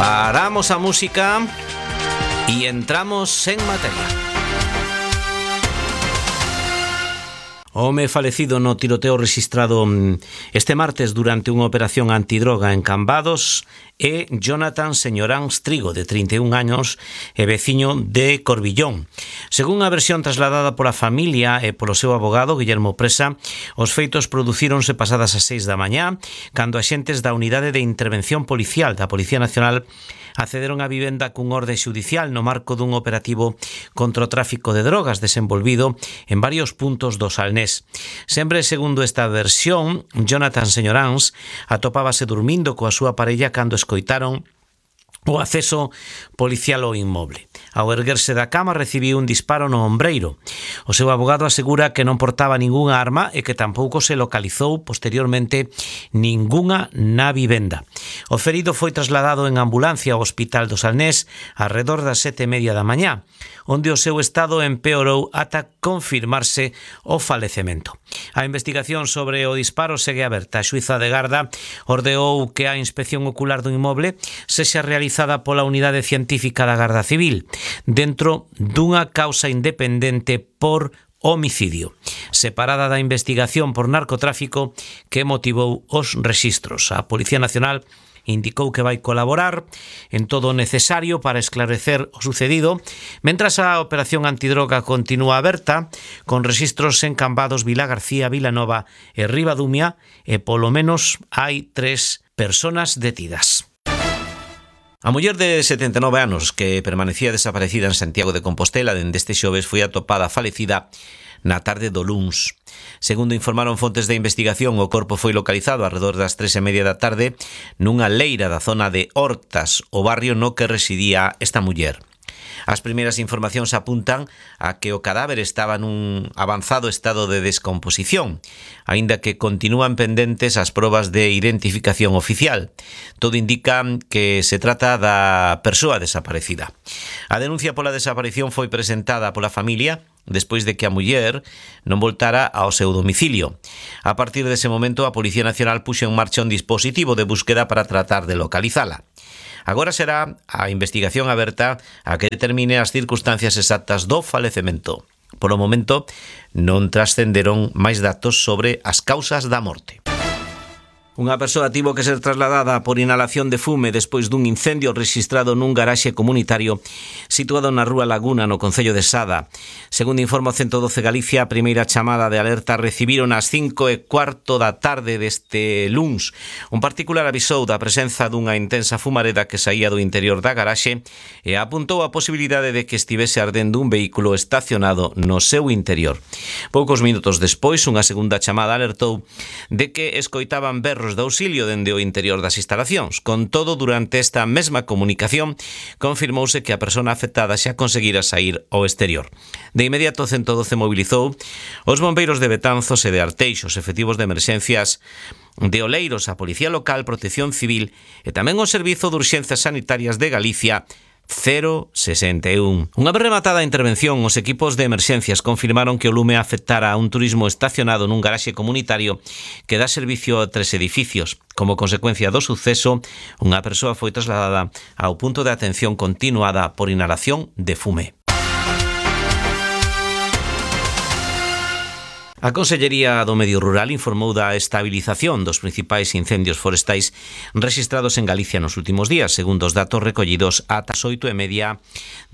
Paramos a música y entramos en materia. Home falecido no tiroteo registrado este martes durante unha operación antidroga en Cambados é Jonathan Señoráns Trigo, de 31 años e veciño de Corbillón. Según a versión trasladada pola familia e polo seu abogado, Guillermo Presa, os feitos producíronse pasadas as 6 da mañá, cando axentes da Unidade de Intervención Policial da Policía Nacional accederon á vivenda cun orde xudicial no marco dun operativo contra o tráfico de drogas desenvolvido en varios puntos do Salnés. Sempre segundo esta versión, Jonathan Señoráns atopábase dormindo coa súa parella cando escoitaron o acceso policial ao inmoble. Ao erguerse da cama recibiu un disparo no ombreiro. O seu abogado asegura que non portaba ningunha arma e que tampouco se localizou posteriormente ningunha na vivenda. O ferido foi trasladado en ambulancia ao Hospital do Salnés arredor das 7:30 da mañá, onde o seu estado empeorou ata confirmarse o falecemento. A investigación sobre o disparo segue aberta. A xuíza de garda ordeou que a inspección ocular do inmoble sexa realizada pola Unidade Científica da Garda Civil, dentro dunha causa independente por homicidio, separada da investigación por narcotráfico que motivou os rexistros. A Policía Nacional indicou que vai colaborar en todo o necesario para esclarecer o sucedido, mentras a operación antidroga continúa aberta, con rexistros en Cambados, Vilagarcía, Vilanova e Ribadumia, e polo menos hai 3 persoas detidas. A muller de 79 anos que permanecía desaparecida en Santiago de Compostela dende este xoves foi atopada falecida na tarde do luns. Segundo informaron fontes de investigación, o corpo foi localizado arredor das 3:30 da tarde nunha leira da zona de Hortas, o barrio no que residía esta muller. As primeiras informacións apuntan a que o cadáver estaba nun avanzado estado de descomposición, aínda que continúan pendentes as probas de identificación oficial. Todo indica que se trata da persoa desaparecida. A denuncia pola desaparición foi presentada pola familia despois de que a muller non voltara ao seu domicilio. A partir dese momento, a Policía Nacional puxo en marcha un dispositivo de búsqueda para tratar de localizala. Agora será a investigación aberta a que determine as circunstancias exactas do falecemento. Polo momento, non trascenderon máis datos sobre as causas da morte. Unha persoa tivo que ser trasladada por inhalación de fume despois dun incendio registrado nun garaxe comunitario situado na Rúa Laguna, no concello de Sada. Segundo informa o 112 Galicia, a primeira chamada de alerta recibiron ás 5:15 da tarde deste luns. Un particular avisou da presenza dunha intensa fumareda que saía do interior da garaxe e apuntou a posibilidade de que estivese ardendo un vehículo estacionado no seu interior. Poucos minutos despois, unha segunda chamada alertou de que escoitaban berros de auxilio dende o interior das instalacións. Con todo, durante esta mesma comunicación confirmouse que a persona afectada xa conseguira sair ao exterior. De inmediato, 112 mobilizou os bombeiros de Betanzos e de Arteixo, os efectivos de emerxencias de Oleiros, a Policía Local, Protección Civil e tamén o Servizo de Urxencias Sanitarias de Galicia 061. Unha vez rematada a intervención, os equipos de emerxencias confirmaron que o lume afectara a un turismo estacionado nun garaxe comunitario que dá servicio a 3 edificios. Como consecuencia do suceso, unha persoa foi trasladada ao punto de atención continuada por inhalación de fume. A Consellería do Medio Rural informou da estabilización dos principais incendios forestais rexistrados en Galicia nos últimos días, segundo os datos recollidos ata as 8:30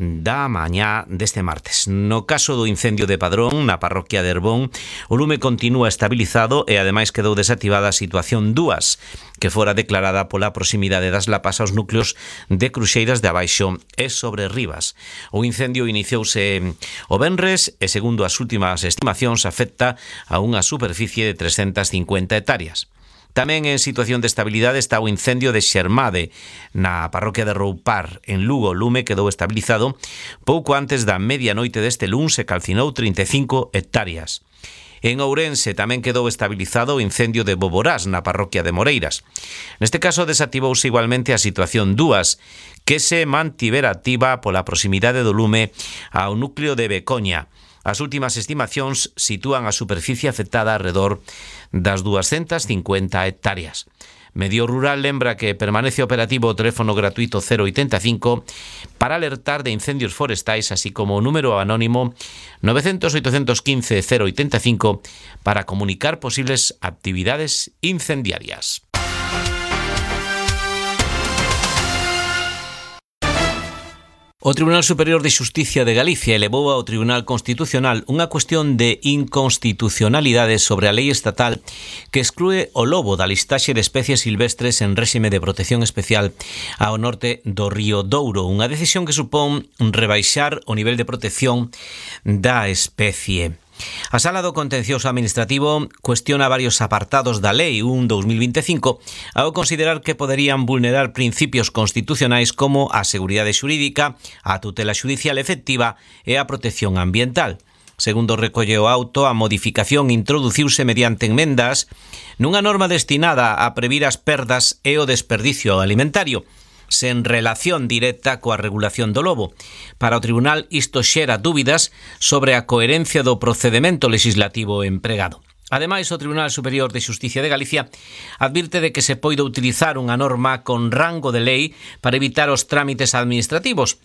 da mañá deste martes. No caso do incendio de Padrón, na parroquia de Herbón, o lume continúa estabilizado e ademais quedou desactivada a situación 2, que fora declarada pola proximidade das lapas aos núcleos de Cruxeiras de Abaixo e sobre Rivas. O incendio iniciouse o venres e, segundo as últimas estimacións, afecta a unha superficie de 350 hectáreas. Tamén en situación de estabilidade está o incendio de Xermade, na parroquia de Roupar, en Lugo. O lume quedou estabilizado pouco antes da medianoite deste luns e calcinou 35 hectáreas. En Ourense tamén quedou estabilizado o incendio de Boborás, na parroquia de Moreiras. Neste caso desactivouse igualmente a situación 2, que se mantivera activa pola proximidade do lume ao núcleo de Becoña. As últimas estimacións sitúan a superficie afectada alrededor das 250 hectáreas. Medio Rural lembra que permanece operativo o teléfono gratuito 085 para alertar de incendios forestais, así como o número anónimo 900-815-085 para comunicar posibles actividades incendiarias. O Tribunal Superior de Xusticia de Galicia elevou ao Tribunal Constitucional unha cuestión de inconstitucionalidade sobre a lei estatal que exclúe o lobo da listaxe de especies silvestres en réxime de protección especial ao norte do río Douro, unha decisión que supón rebaixar o nivel de protección da especie. A Sala do Contencioso Administrativo cuestiona varios apartados da Lei 1/2025 ao considerar que poderían vulnerar principios constitucionais como a seguridade xurídica, a tutela xudicial efectiva e a protección ambiental. Segundo recolle o auto, a modificación introduciuse mediante enmendas nunha norma destinada a previr as perdas e o desperdicio alimentario, sen relación directa coa regulación do lobo. Para o Tribunal isto xera dúbidas sobre a coherencia do procedemento legislativo empregado. Ademais, o Tribunal Superior de Xusticia de Galicia advirte de que se poida utilizar unha norma con rango de lei para evitar os trámites administrativos,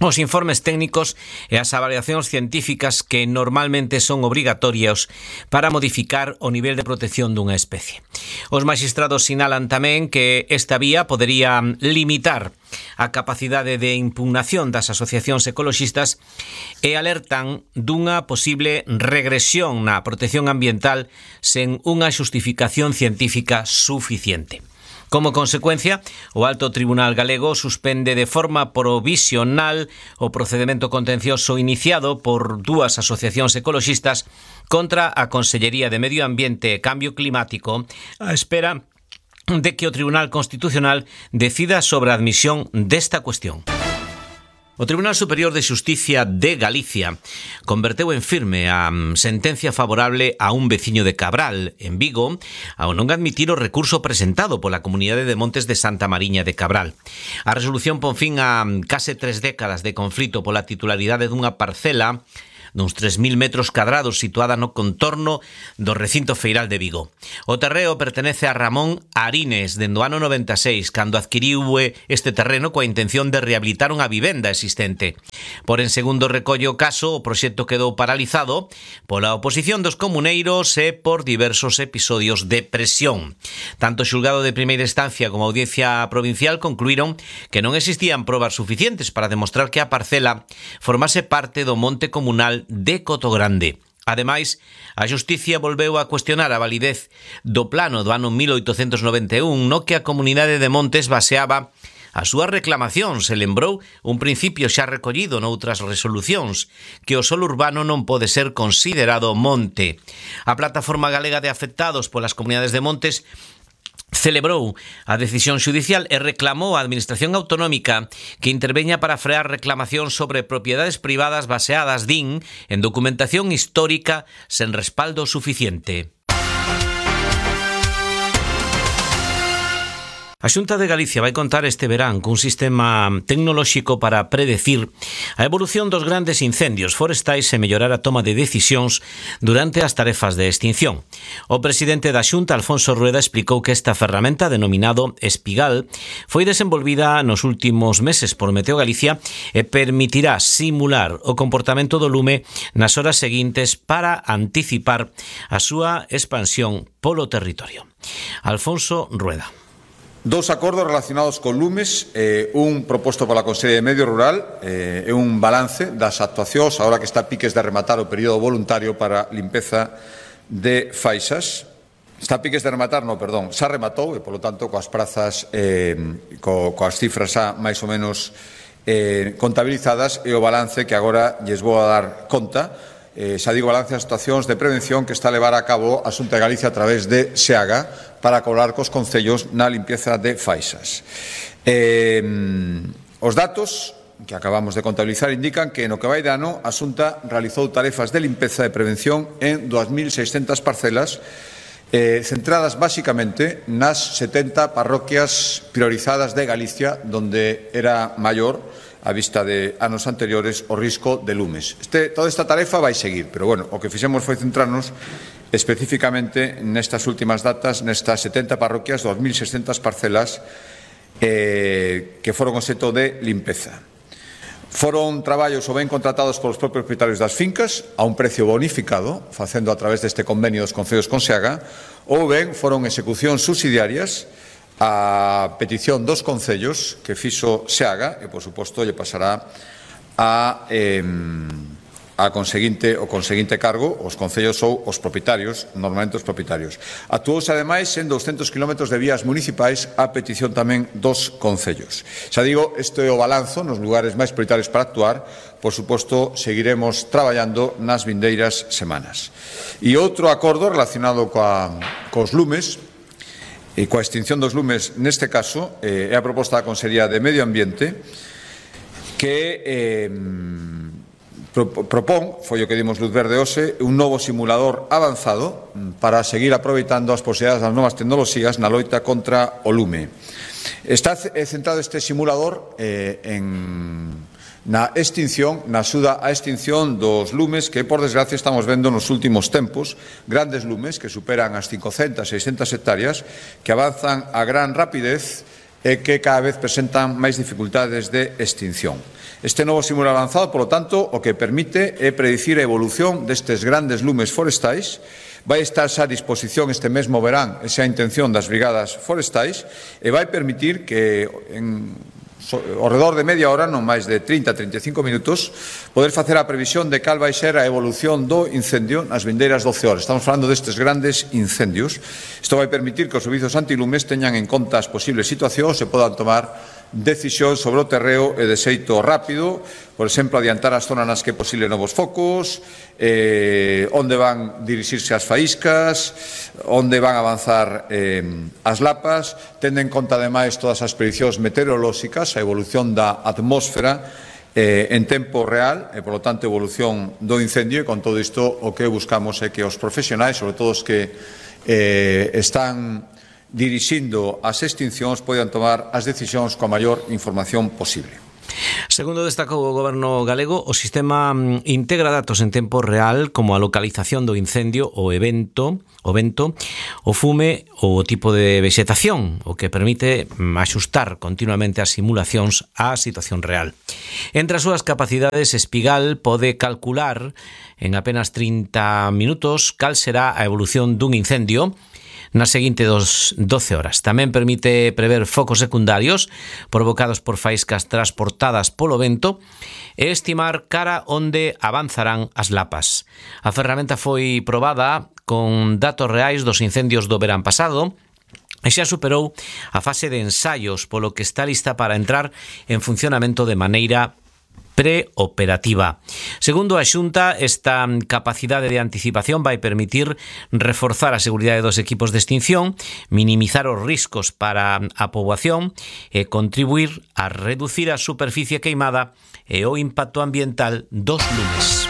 os informes técnicos e as avaliacións científicas que normalmente son obrigatorios para modificar o nivel de protección dunha especie. Os magistrados sinalan tamén que esta vía podería limitar a capacidade de impugnación das asociacións ecoloxistas e alertan dunha posible regresión na protección ambiental sen unha xustificación científica suficiente. Como consecuencia, o Alto Tribunal Galego suspende de forma provisional o procedemento contencioso iniciado por dúas asociacións ecoloxistas contra a Consellería de Medio Ambiente e Cambio Climático á espera de que o Tribunal Constitucional decida sobre a admisión desta cuestión. O Tribunal Superior de Xusticia de Galicia converteu en firme a sentencia favorable a un veciño de Cabral, en Vigo, ao non admitir o recurso presentado pola Comunidade de Montes de Santa Mariña de Cabral. A resolución pon fin a case 3 décadas de conflito pola titularidade dunha parcela duns 3.000 metros cadrados situada no contorno do recinto feiral de Vigo. O terreo pertenece a Ramón Arines dende o ano 96, cando adquiriu este terreno coa intención de rehabilitar unha vivenda existente. Por en segundo recolle o caso, o proxecto quedou paralizado pola oposición dos comuneiros e por diversos episodios de presión. Tanto o xulgado de primeira instancia como a audiencia provincial concluíron que non existían probas suficientes para demostrar que a parcela formase parte do monte comunal de Cotogrande. Ademais, a Xusticia volveu a cuestionar a validez do plano do ano 1891 no que a Comunidade de Montes baseaba a súa reclamación. Se lembrou un principio xa recollido noutras resolucións, que o solo urbano non pode ser considerado monte. A Plataforma Galega de Afectados polas Comunidades de Montes celebrou a decisión xudicial e reclamou á Administración Autonómica que interveña para frear reclamacións sobre propiedades privadas baseadas, din, en documentación histórica sen respaldo suficiente. A Xunta de Galicia vai contar este verán cun sistema tecnolóxico para predecir a evolución dos grandes incendios forestais e mellorar a toma de decisións durante as tarefas de extinción. O presidente da Xunta, Alfonso Rueda, explicou que esta ferramenta, denominado Espigal, foi desenvolvida nos últimos meses por Meteo Galicia e permitirá simular o comportamento do lume nas horas seguintes para anticipar a súa expansión polo territorio. Alfonso Rueda. Dos acordos relacionados con lumes, un proposto pola Consellería de Medio Rural e un balance das actuacións agora que está a piques de rematar o período voluntario para limpeza de faixas. Está a piques de rematar, xa rematou e, polo tanto, coas prazas, coas cifras xa máis ou menos contabilizadas e o balance que agora lles vou a dar conta. Xa digo, balance das actuacións de prevención que está a levar a cabo a Xunta de Galicia a través de SEAGA para colaborar cos concellos na limpieza de faixas. Os datos que acabamos de contabilizar indican que no que vai de ano a Xunta realizou tarefas de limpeza e prevención en 2.600 parcelas centradas basicamente nas 70 parroquias priorizadas de Galicia, donde era maior a vista de anos anteriores o risco de lumes. Toda esta tarefa vai seguir, pero bueno, o que fixemos foi centrarnos especificamente nestas últimas datas, nestas 70 parroquias, 2.600 parcelas que foron obxecto de limpeza. Foron traballos ou ben contratados polos propios propietarios das fincas a un precio bonificado, facendo a través deste convenio dos concellos con Seaga, ou ben foron execucións subsidiarias a petición dos concellos que fixo Seaga e, por suposto, lle pasará o conseguinte cargo os concellos ou os propietarios, normalmente os propietarios. Actuouse, ademais, en 200 km de vías municipais a petición tamén dos concellos. Xa digo, este é o balanzo nos lugares máis prioritarios para actuar. Por suposto, seguiremos traballando nas vindeiras semanas. E outro acordo relacionado cos lumes e coa extinción dos lumes, neste caso, é a proposta da Consellería de Medio Ambiente que propón, foi o que dimos luz verde hoxe, un novo simulador avanzado para seguir aproveitando as posibilidades das novas tecnoloxías na loita contra o lume. Está centrado este simulador na extinción, na axuda á extinción dos lumes que, por desgracia, estamos vendo nos últimos tempos, grandes lumes que superan as 500, 600 hectáreas, que avanzan a gran rapidez e que cada vez presentan máis dificultades de extinción. Este novo simulador avanzado, polo tanto, o que permite é predicir a evolución destes grandes lumes forestais. Vai estar xa a disposición este mesmo verán, esa é a intención das brigadas forestais, e vai permitir que ao redor de media hora, non máis de 30-35 minutos, poder facer a previsión de cal vai ser a evolución do incendio nas vindeiras 12 horas. Estamos falando destes grandes incendios. Isto vai permitir que os servizos antilumes teñan en conta as posibles situacións e podan tomar decisións sobre o terreo e de xeito rápido, por exemplo, adiantar as zonas nas que é posible novos focos, onde van dirixirse as faíscas, onde van avanzar as lapas, tendo en conta, ademais, todas as prediccións meteorolóxicas, a evolución da atmósfera en tempo real e, polo tanto, evolución do incendio, e con todo isto o que buscamos é que os profesionais, sobre todo os que están dirixindo as extincións, poidan tomar as decisións coa maior información posible. Segundo destacou o Goberno galego, o sistema integra datos en tempo real como a localización do incendio, o vento, o fume ou o tipo de vexetación, o que permite axustar continuamente as simulacións á situación real. Entre as súas capacidades, Espigal pode calcular en apenas 30 minutos cal será a evolución dun incendio nas seguintes 12 horas. Tamén permite prever focos secundarios provocados por faíscas transportadas polo vento e estimar cara onde avanzarán as lapas. A ferramenta foi probada con datos reais dos incendios do verán pasado e xa superou a fase de ensaios, polo que está lista para entrar en funcionamento de maneira preoperativa. Segundo a Xunta, esta capacidade de anticipación vai permitir reforzar a seguridade dos equipos de extinción, minimizar os riscos para a poboación e contribuir a reducir a superficie queimada e o impacto ambiental dos lumes.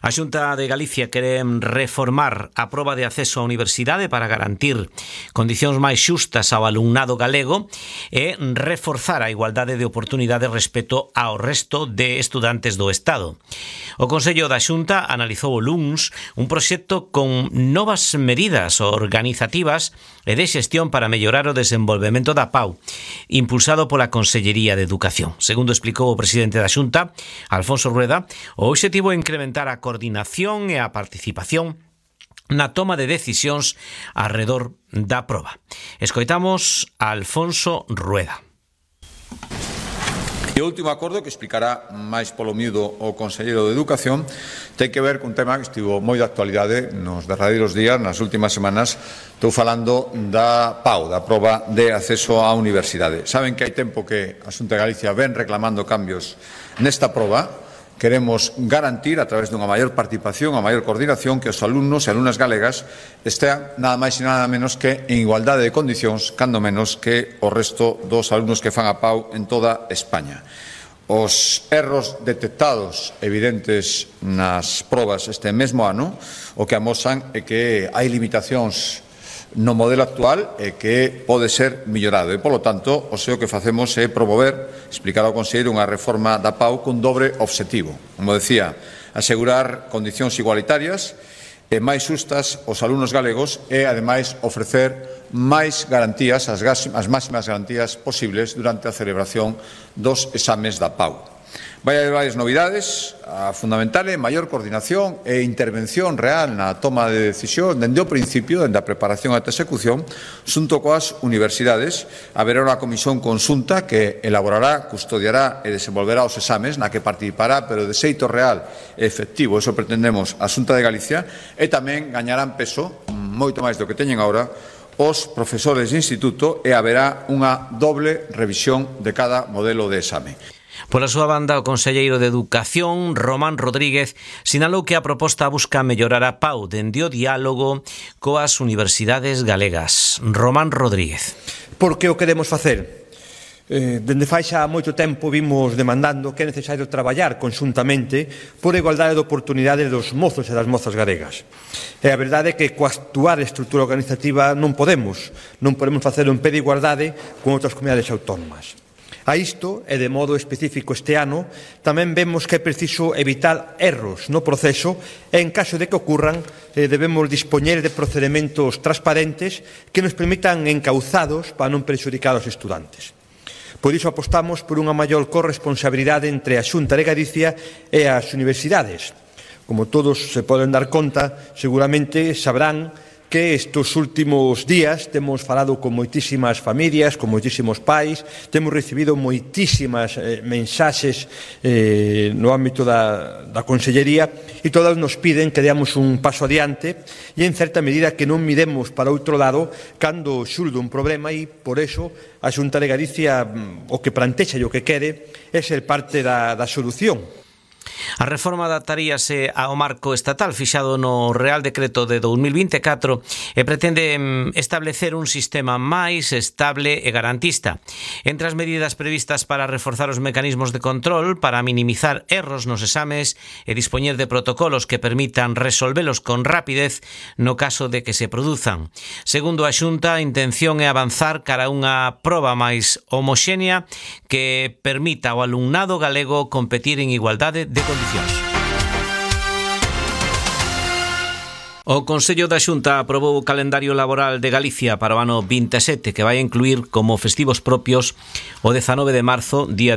A Xunta de Galicia quere reformar a proba de acceso á universidade para garantir condicións máis xustas ao alumnado galego e reforzar a igualdade de oportunidade respecto ao resto de estudantes do Estado. O Consello da Xunta analizou o luns un proxecto con novas medidas organizativas e de xestión para mellorar o desenvolvemento da PAU, impulsado pola Consellería de Educación. Segundo explicou o presidente da Xunta, Alfonso Rueda, o obxectivo é incrementar a coordinación e a participación na toma de decisións arredor da proba. Escoitamos a Alfonso Rueda. E o último acordo, que explicará máis polo miúdo o conselleiro de Educación, ten que ver cun tema que estivo moi de actualidade nos derradeiros días, nas últimas semanas. Estou falando da PAU, da proba de acceso á universidade. Saben que hai tempo que a Xunta de Galicia ven reclamando cambios nesta proba. Queremos garantir, a través dunha maior participación, a maior coordinación, que os alumnos e alumnas galegas estean nada máis e nada menos que en igualdade de condicións, cando menos que o resto dos alumnos que fan a PAU en toda España. Os erros detectados evidentes nas probas este mesmo ano o que amosan é que hai limitacións no modelo actual e que pode ser millorado. E, polo tanto, o que facemos é promover, explicar ao conselleiro, unha reforma da PAU con dobre obxectivo. Como decía, asegurar condicións igualitarias e máis xustas aos alumnos galegos e, ademais, ofrecer máis garantías, as máximas garantías posibles durante a celebración dos exames da PAU. Vai haber varias novidades, a fundamental é maior coordinación e intervención real na toma de decisión dende o principio, dende a preparación ata a execución, xunto coas universidades. Haberá unha comisión conxunta que elaborará, custodiará e desenvolverá os exames, na que participará, pero de xeito real e efectivo, eso pretendemos, a Xunta de Galicia, e tamén gañarán peso, moito máis do que teñen agora, os profesores de instituto, e haberá unha doble revisión de cada modelo de exame. Pola súa banda, o conselleiro de Educación, Román Rodríguez, sinalou que a proposta busca mellorar a PAU dende o diálogo coas universidades galegas. Román Rodríguez. Por que o queremos facer? Dende fai xa moito tempo vimos demandando que é necesario traballar conxuntamente por a igualdade de oportunidades dos mozos e das mozas galegas. E a verdade é que coa actual estrutura organizativa non podemos facelo en pé de igualdade con outras comunidades autónomas. A isto, e de modo específico este ano, tamén vemos que é preciso evitar erros no proceso e, en caso de que ocurran, debemos dispoñer de procedementos transparentes que nos permitan encauzados para non perxudicar aos estudantes. Por iso apostamos por unha maior corresponsabilidade entre a Xunta de Galicia e as universidades. Como todos se poden dar conta, seguramente sabrán que estes últimos días temos falado con moitísimas familias, con moitísimos pais, temos recibido moitísimas mensaxes no ámbito da Consellería e todas nos piden que deamos un paso adiante e, en certa medida, que non miremos para outro lado cando xurde un problema e, por eso, a Xunta de Galicia o que plantexa e o que quere é ser parte da solución. A reforma adaptaríase ao marco estatal fixado no Real Decreto de 2024 e pretende establecer un sistema máis estable e garantista. Entre as medidas previstas para reforzar os mecanismos de control, para minimizar erros nos exames e dispoñer de protocolos que permitan resolvelos con rapidez no caso de que se produzan. Segundo a Xunta, a intención é avanzar cara a unha proba máis homoxénea que permita ao alumnado galego competir en igualdade de condicións. O Consello da Xunta aprobou o calendario laboral de Galicia para o ano 27, que vai incluir como festivos propios o 19 de marzo, día